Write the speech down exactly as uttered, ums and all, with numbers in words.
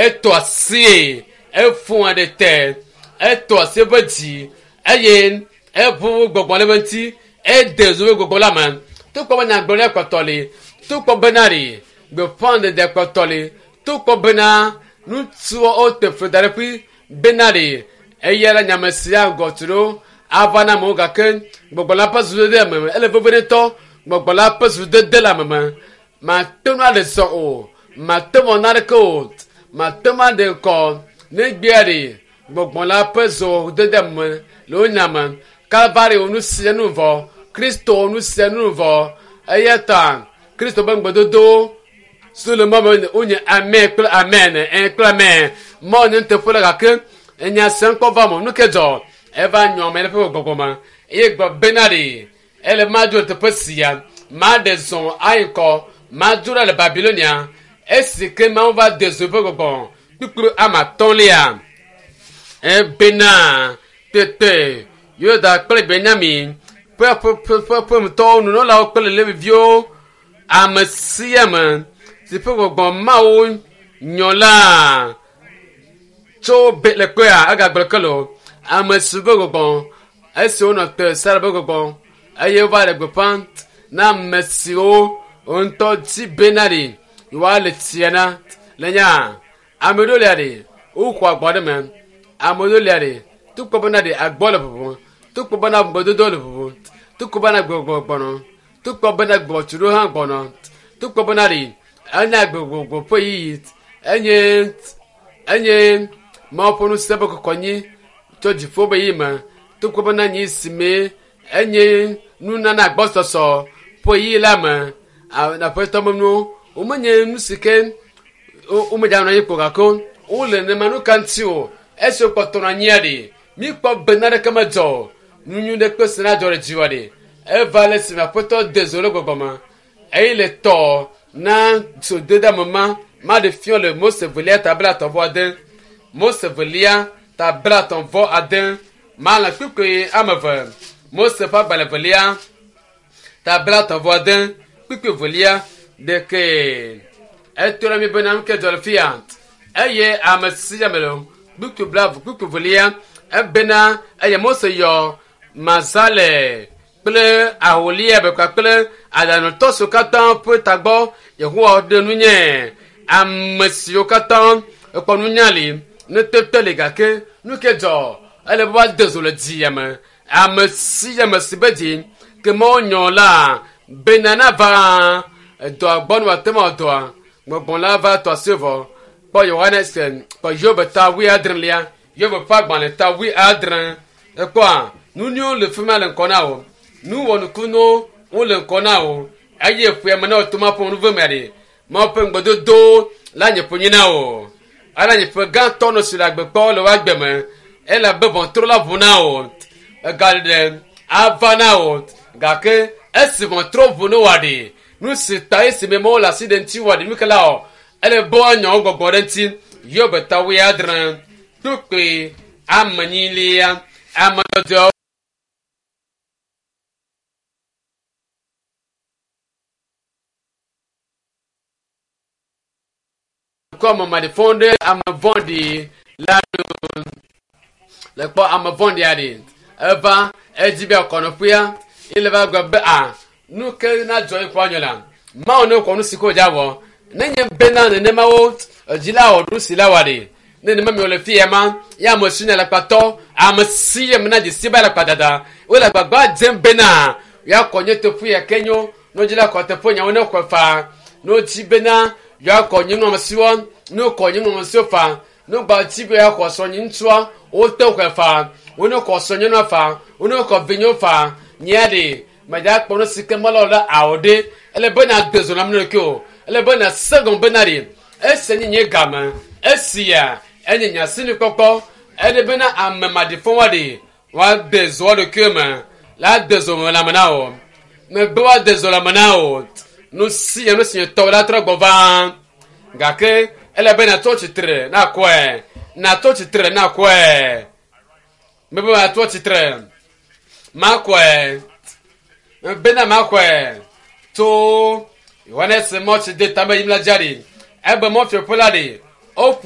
Etɔ asie efua ɖe te etɔ asi eƒe dzi eye eʋu gbɔgbɔ le eƒe ŋuti ede zo be gbɔgbɔ la me tukpɔ be nyagblɔɖia kpɔtɔ li tukpɔ bena ɖi gbeƒãɖeɖe kpɔtɔ li tukpɔ bena ŋutsuwo wote fli da ɖe ƒui bena ɖi eya la nyame sia ŋgɔ tu ɖo ava na amewo gake gbɔgbɔ la ƒe zudede ame me ele veve ŋutɔ gbɔgbɔ la ƒe zudede le ame me mate ŋu aɖe zɔ o mate ŋu naneke o mate ŋu aɖe ŋkɔ ne gbea ɖi gbɔgbɔ la ƒe zɔdede me le wo nya me kalvari wo nu sia nu vɔ kristo wo nu sia nu vɔ eya ta kristo ƒe ŋugbedodowo so le mɔ me wonye amen kple amen ɛ kple amen mɔ nye nuteƒe la gake enya sia ŋkɔ va me nu ke dzɔ eva nyɔ ame le ƒe gbɔgbɔ me eye gblɔ bena ɖi ele madzo le teƒe sia maɖe zɔ ayi ŋkɔ madzo ɖa le babilonia esi ke mawu va de zo ƒe gbɔgbɔ kpukplu ame atɔ̃lia ebena tete yuda kple benyamin ƒe ƒe ƒe ƒemetɔwo nunɔlawo kple leviviwo ame sia ame si ƒe gbɔgbɔ mawu nyɔ la tso be le kpea egagblɔ ke lo ame si ƒe gbɔgbɔ esi wonɔ te sara ƒe gbɔgbɔ eye wova le gbeƒã na ame siwo ŋutɔ dzi bena ɖi yewoale tsia na le nya ame ɖewo lia ɖi woxɔ agbɔ ɖe me ame ɖewo lia ɖi tukpɔ bena ɖi agbɔ le ʋuʋu tukpɔ bena ŋugbedodo le ʋuʋu tukpɔ bena gbɔgbɔ gbɔnɔ tukpɔ bena gbɔtsuɖo hã gbɔnɔ tukpɔ bena ɖi enya gbɔgbɔ ƒe yiyi enye enye mawu ƒe ŋusẽ ƒe kɔkɔnyi tso dziƒo be yi me tukpɔ bena nyi si me enye nunana agbɔsɔsɔ ƒe yiyi la me aƒetɔ me nuwo womenye nu si ke womedzanɔ anyi kpo gake wole nenema nu ka ŋuti o esi wokpɔtɔ nɔ anyia ɖi mikpɔ bena ɖeke medzɔ o nu nyui ɖe kpe si na dzɔ ɖe dziwɔ ɖi eva le esime aƒetɔ de zo le gbɔgbɔ me eye le tɔ na zodede ame ma maɖe fiɔ le mose velia ta bla atɔ̃ vɔ ade mose velia ta bla atɔ̃ vɔ ade malẽ kpukpui ame eve mose ƒe agbalẽ velia ta bla atɔ̃ vɔ ade kpukpui velia ɖeke eto ɖe mi bena nu ke dzɔ le fia eye ame sia ame le kpukpui bla kpukpui velia ebena eye mose yɔ mazale kple aholia be kpakple aɖaŋutɔ siwo katã ƒe tagbɔ yehowa ɖe nu nye ame siwo katã ekpɔ nunya li nutete li gake nu ke dzɔ ele be woade zo le dzia me ame sia ame si be dzi ke mawo nyɔ la bena nava edɔa gbɔ ne wòate ŋu awɔ dɔa gbɔgbɔ la va tɔ asi vɔ kpɔ yohanes kpɔ yobe ta wuiadrelia yobe ƒe agbalẽ ta wuiadre ekpɔa nu nyuiwo le fi ma le ŋkɔ na wo nu wɔnukunuwo wole ŋkɔ na wo eye ƒea me na wò to ma ƒe nu ve mea ɖe mawu ƒe ŋugbedodo la nye ƒonyi na wo ala nye ƒe gãtɔ nɔ si le agbekpɔ le woagbe me ele abe ʋɔtru la ʋu na wo egaɖeɖe ava na wo gake esi ʋɔtru ʋu ne wòa ɖi nu si ta esi me mawu le asi ɖe ŋuti wòa ɖi nu ke la o ele be woanyɔ wo gbɔgbɔ ɖe ŋuti yobe ta wuiadre kpukpui amenyilia ame dzɔdzɔewo kɔ ame maɖifɔ ɖe ame vɔ̃ɖi la nu le kpɔ ame vɔ̃ɖi aɖe eva edzi be akɔnɔƒea ele va gblɔ be a nu ke na dzɔ yi kɔ anyo la mawu ne kɔ nu si ko dza wɔ nenye bena nenema wo edzi la wɔ nu si la wɔ ɖe ne nenema mi wòle fi ya ma ya ame si nye alakpatɔ ame si ya me na dzesi be alakpadada wole agbagba dzem bena ya kɔ nye teƒe ya ke nyo ne wodzi la kɔ teƒe nyawo ne xɔe faa ne wodzi bena yewoakɔ nye nɔamesiwo ne wokɔ nye nɔamesiwo fa ne wogba dzi be yewoaxɔ srɔ̃nye ŋutsua wote xɔe fa wone xɔ srɔ̃nyɔnua fa wone xɔ vinyewo fa nyea ɖe medza kpɔ nu si ke mele o la awɔ ɖe ele be na de zo na ame ɖokui o ele be na se gɔme bena ɖe esi nye nye game esia enye nye asinukpɔkpɔ ele bena ame maɖifɔ ɖe woade zo wo ɖokui me la de zo me lãme na wo megbe woade zo lãme na wo nu si nu si tɔ la trɔ gbɔ va gake ele be natɔ tsitre na kɔe natɔ tsitre na kɔe mebe natɔ tsitre makɔe bena makɔe tso yohanes mɔtsi de tame yim la dza ɖi ebe mɔfiaƒe la ɖi woƒo